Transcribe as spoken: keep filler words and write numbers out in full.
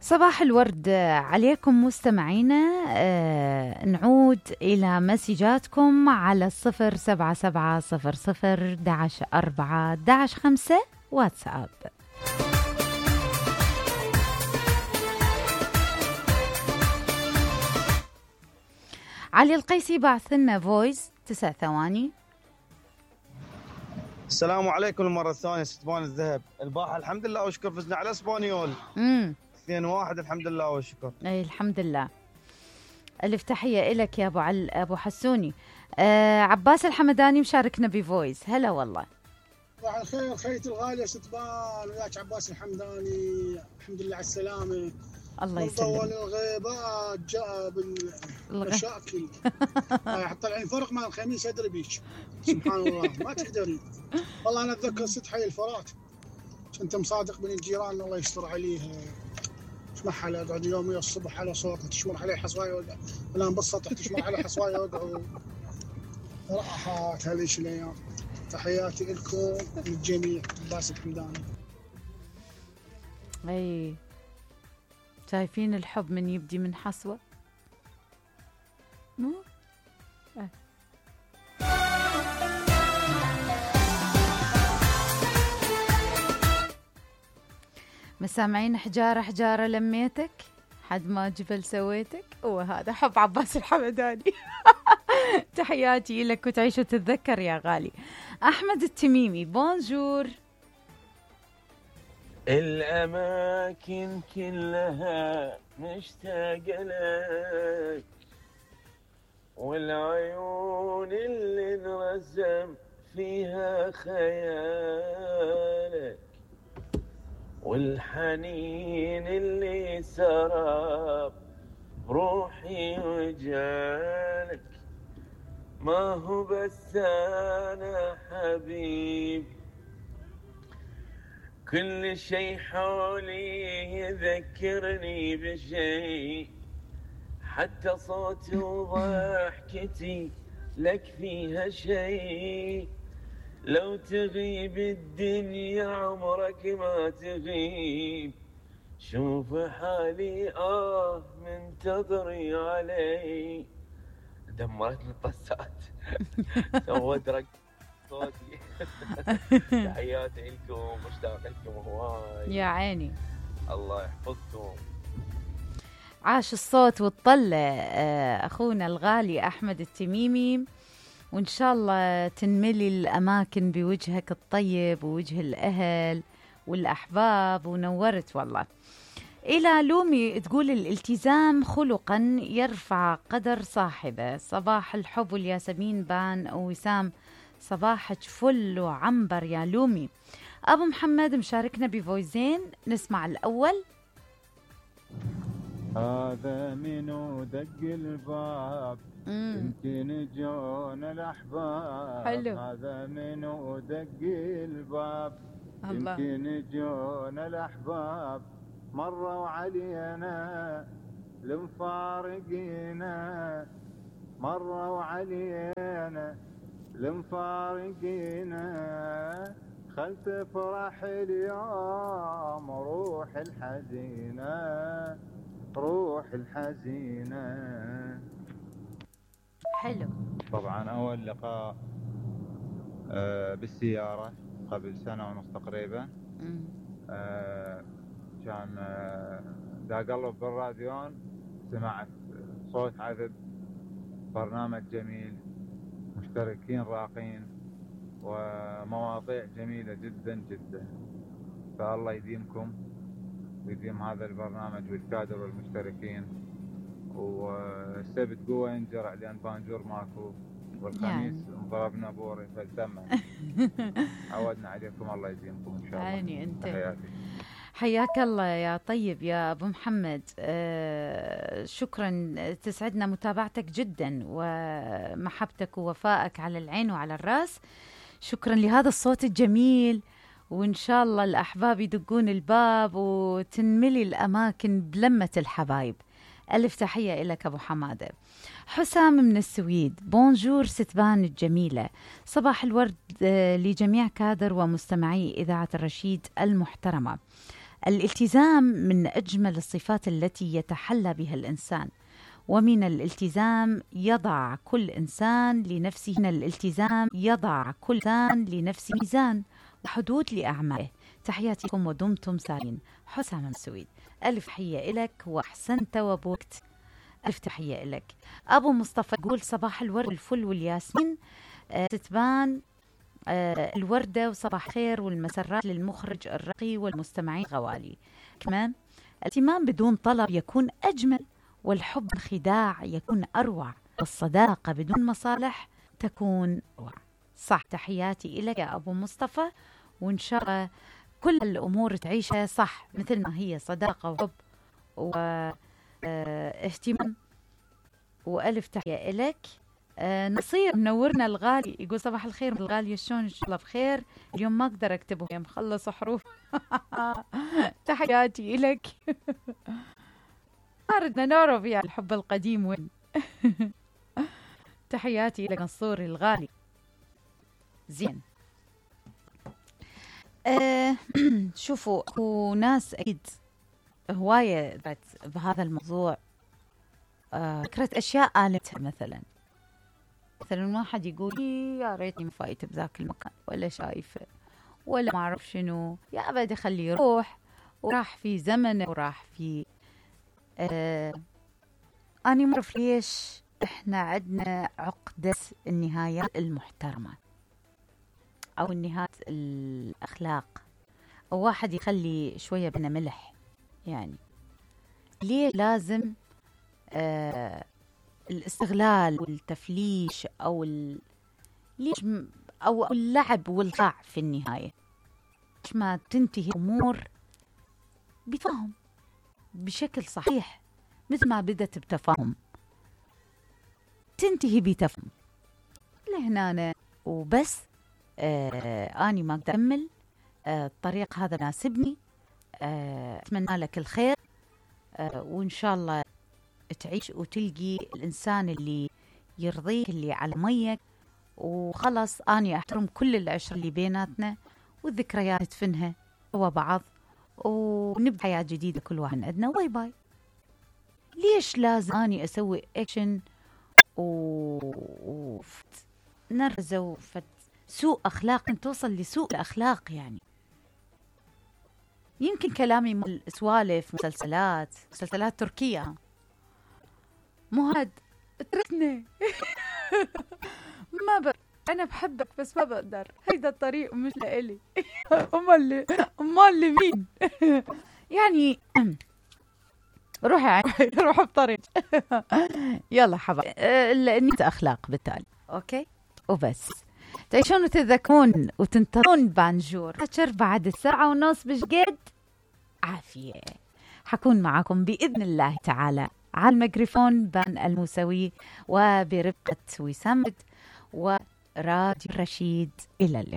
صباح الورد عليكم مستمعينا. آه نعود إلى مسجاتكم على الصفر سبعة سبعة صفر صفر داعش أربعة داعش خمسة واتساب. علي القيسي بعث لنا فويس تسع ثواني. السلام عليكم المرة الثانية ستبان الذهب الباحة، الحمد لله وشكر فزنا على اسبانيول امم اثنين واحد الحمد لله والشكر. اي الحمد لله. الف تحية إلك يا ابو عل... ابو حسوني. آه عباس الحمداني مشاركنا بفويس. هلا والله. صباح الخير خيتي الغالية ستبان، وياك عباس الحمداني. الحمد لله على السلامة. الله يسلمك. طول الغيبات جاء بالمشاكل. حتى الحين فرق مع الخميس ادري بيك. سبحان الله ما تقدرين. والله انا اتذكر ست حي الفرات كنت مصادق بين الجيران الله يستر عليها. اسمعها لا اقعد يومي الصبح على صوتها تشمر عليه حصوايه ولا ولا بالسطح تشمر عليه حصوايه وقعوا راحات هذيش الايام. تحياتي لكم للجميع. عباس الحمداني. اي شايفين الحب من يبدي من حصوة مو أه. مسامعين حجارة حجارة لميتك حد ما جبل سويتك. وهذا حب عباس الحمداني. تحياتي لك وتعيش وتتذكر يا غالي. أحمد التميمي بونجور. الأماكن كلها مشتاقة لك، والعيون اللي نرسم فيها خيالك، والحنين اللي سراب روحي وجالك. ما هو بس أنا حبيب، كل شي حولي يذكرني بشي، حتى صوتي وضحكتي لك فيها شي. لو تغيب الدنيا عمرك ما تغيب، شوف حالي آه منتظري علي. دمرتني الطسات. سوت رق صوتي. تحياتي لكم مشتاق لكم هواي. يا عيني الله يحفظكم. عاش الصوت والطلة أخونا الغالي أحمد التميمي، وإن شاء الله تنملي الأماكن بوجهك الطيب ووجه الأهل والأحباب. ونورت والله. إلى لومي تقول الالتزام خلقا يرفع قدر صاحبه. صباح الحب والياسمين بان وسام صباحك فل وعنبر يا لومي. أبو محمد مشاركنا بفويزين، نسمع الأول. هذا منو دق الباب يمكن جون الأحباب. حلو. هذا منو دق الباب يمكن جون الأحباب. مروا علينا لمفارقينا، مروا علينا لمفارقينا. خل تفرح اليوم روح الحزينة، روح الحزينة. حلو. طبعا أول لقاء آه بالسيارة قبل سنة ونص تقريبا. آه كان آه دا قلب بالراديون سمعت صوت عذب، برنامج جميل، مشتركين راقين، ومواضيع جميلة جدا جدا. فالله يديمكم ويديم هذا البرنامج والكادر والمشتركين. والسبت قوة ينجرع لأن بانجور ماكو، والخميس يعني ضربنا بوري فالدمع. عودنا عليكم. الله يديمكم إن شاء الله. عيني أنت. حياتي. حياك الله يا طيب يا أبو محمد. آه شكرا، تسعدنا متابعتك جدا ومحبتك ووفائك على العين وعلى الرأس. شكرا لهذا الصوت الجميل، وإن شاء الله الأحباب يدقون الباب وتنملي الأماكن بلمة الحبايب. ألف تحية لك أبو حمادة. حسام من السويد بونجور ستبان الجميلة. صباح الورد لجميع كادر ومستمعي إذاعة الرشيد المحترمة. الالتزام من أجمل الصفات التي يتحلى بها الإنسان، ومن الالتزام يضع كل إنسان لنفسه من الالتزام يضع كل إنسان لنفسه ميزان وحدود لأعماله. تحياتكم ودمتم سالمين. حسام مسويد، ألف تحية إلك وأحسنت وبوكت. ألف تحية إلك. أبو مصطفى يقول صباح الورد والفل والياسمين، أه تتبان أه الوردة وصباح خير والمسرات للمخرج الرقي والمستمعين غوالي. كمان الاهتمام بدون طلب يكون أجمل، والحب خداع يكون أروع، والصداقة بدون مصالح تكون أروع. صح. تحياتي إلك يا أبو مصطفى، وإن شاء الله كل الأمور تعيشها صح مثل ما هي، صداقة وحب واهتمام. وألف تحية إلك. آه نصير منورنا الغالي يقول صباح الخير الغالية، شلون؟ إن شاء الله بخير. اليوم ما أقدر أكتبه يا مخلص حروف. تحياتي إلك. أردنا نعرف يعني الحب القديم وين. تحياتي إلك نصوري الغالي. زين. أه شوفوا، هو ناس أكيد هواية بهذا الموضوع، فكرة أه أشياء آلتها. مثلا مثلا واحد يقول يا ريتني ما فايته بذاك المكان، ولا شايفه، ولا ما أعرف شنو، يا أبدا خليه يروح، وراح في زمنه وراح في أه أنا ما أعرف ليش إحنا عندنا عقدة النهايات المحترمة أو النهايات الأخلاق، أو واحد يخلي شوية بنا ملح. يعني ليه لازم آه الاستغلال والتفليش أو ال... ليش م... أو اللعب والخداع في النهاية؟ ليش ما تنتهي أمور بتفاهم بشكل صحيح، مثل ما بدت بتفاهم تنتهي بتفاهم لهنا وبس. آه أني ما أقدر أكمل، آه الطريق هذا ناسبني، آه أتمنى لك الخير، آه وإن شاء الله تعيش وتلقي الإنسان اللي يرضيك، اللي على ميك. وخلص أني أحترم كل العشرة اللي بيناتنا، والذكريات تفنها هو بعض، ونبدأ حياة جديدة كل واحد عندنا. باي باي. ليش لازم أني أسوي أكشن و نرزة وفت سوء أخلاق، توصل لسوء الأخلاق؟ يعني يمكن كلامي سوالف مسلسلات مسلسلات تركية، مو هاد اتركني. ما بقدر، أنا بحبك بس ما بقدر، هيدا الطريق مش لإلي. أمال اللي أمال اللي مين؟ يعني روحي روحي بطريق. يلا حبايب، النية أخلاق بالتالي. أوكي وبس. تعيشون وتذكرون وتنتظرون بانجور حشر بعد الساعة ونص بشقد عافية. حكون معكم بإذن الله تعالى على الميكروفون بان الموسوي، وبرفقة وسام وراديو رشيد. إلى اللقاء.